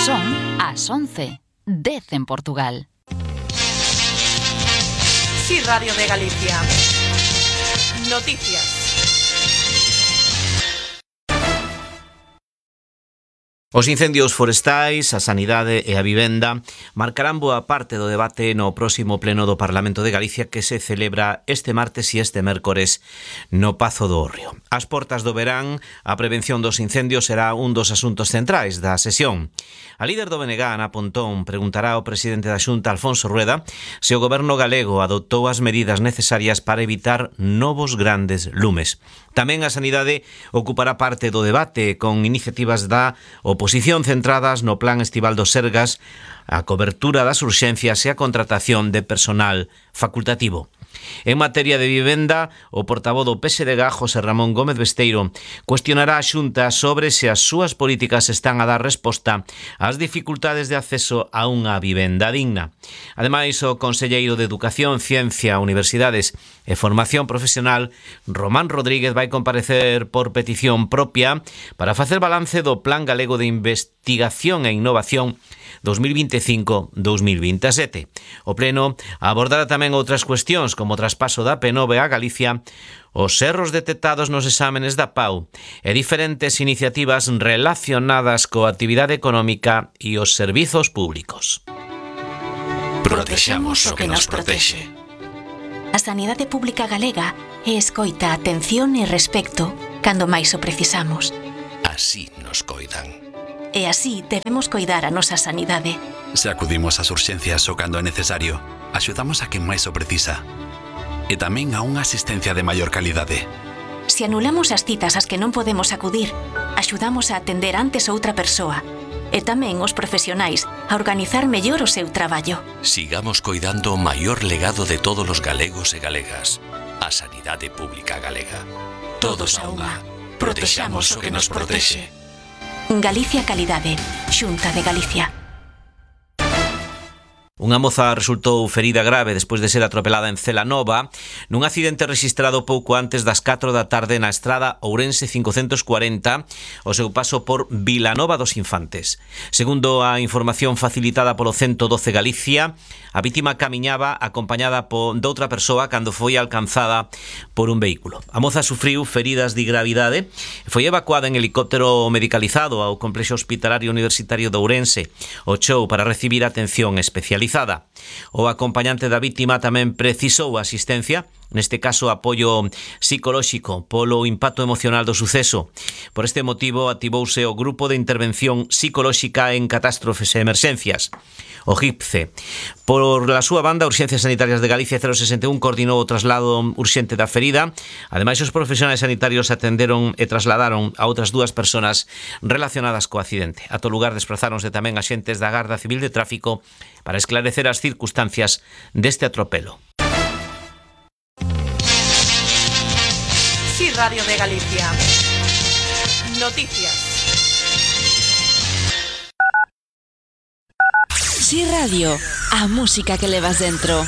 Son as 11, 10 en Portugal. Sí, Radio de Galicia. Noticias. Os incendios forestais, a sanidade e a vivenda marcarán boa parte do debate no próximo pleno do Parlamento de Galicia que se celebra este martes e este mércores no Pazo do Hórreo. Ás portas do verán, a prevención dos incendios será un dos asuntos centrais da sesión. A líder do BNG, Ana Pontón, preguntará ao presidente da Xunta, Alfonso Rueda, se o goberno galego adoptou as medidas necesarias para evitar novos grandes lumes. Tamén a sanidade ocupará parte do debate con iniciativas da oposición centradas no plan estival do Sergas, a cobertura das urxencias e a contratación de personal facultativo. En materia de vivenda, o portavoz do PSDG, José Ramón Gómez Besteiro, cuestionará a Xunta sobre se as súas políticas están a dar resposta ás dificultades de acceso a unha vivenda digna. Ademais, o conselleiro de Educación, Ciencia, Universidades e Formación Profesional, Román Rodríguez, vai comparecer por petición propia para facer balance do Plan Galego de Investigación e Innovación 2025-2027. O pleno abordará tamén outras cuestións como o traspaso da P9 a Galicia, os erros detectados nos exámenes da PAU e diferentes iniciativas relacionadas coa actividade económica e os servizos públicos. Protexamos o que nos protexe. A sanidade pública galega é escoita, atención e respecto cando máis o precisamos. Así nos coidan. E así debemos coidar a nosa sanidade. Se acudimos ás urxencias o cando é necesario, axudamos a quen máis o precisa. E tamén a unha asistencia de maior calidade. Se anulamos as citas ás que non podemos acudir, axudamos a atender antes outra persoa. E tamén os profesionais a organizar mellor o seu traballo. Sigamos coidando o maior legado de todos os galegos e galegas, a sanidade pública galega. Todos a unha. Protexamos o que nos protexe. Galicia Calidade, Xunta de Galicia. Unha moza resultou ferida grave despois de ser atropelada en Celanova nun accidente rexistrado pouco antes das 4 da tarde na estrada Ourense 540 ao seu paso por Vilanova dos Infantes. Segundo a información facilitada polo 112 Galicia, a vítima camiñaba acompañada doutra persoa cando foi alcanzada por un vehículo. A moza sufriu feridas de gravidade e foi evacuada en helicóptero medicalizado ao complexo hospitalario universitario de Ourense, o Chou, para recibir atención especializada. O acompañante da vítima tamén precisou asistencia, neste caso apoio psicolóxico polo impacto emocional do suceso. Por este motivo activouse o Grupo de Intervención Psicolóxica en Catástrofes e Emerxencias, o GIPCE. Por la súa banda, Urxencias Sanitarias de Galicia 061 coordinou o traslado urxente da ferida. Ademais, os profesionais sanitarios atenderon e trasladaron a outras dúas persoas relacionadas co accidente. A todo lugar desplazáronse tamén axentes da Garda Civil de Tráfico para esclarecer as circunstancias deste atropelo. Sí, Radio de Galicia. Noticias. Sí Radio, a música que levas dentro.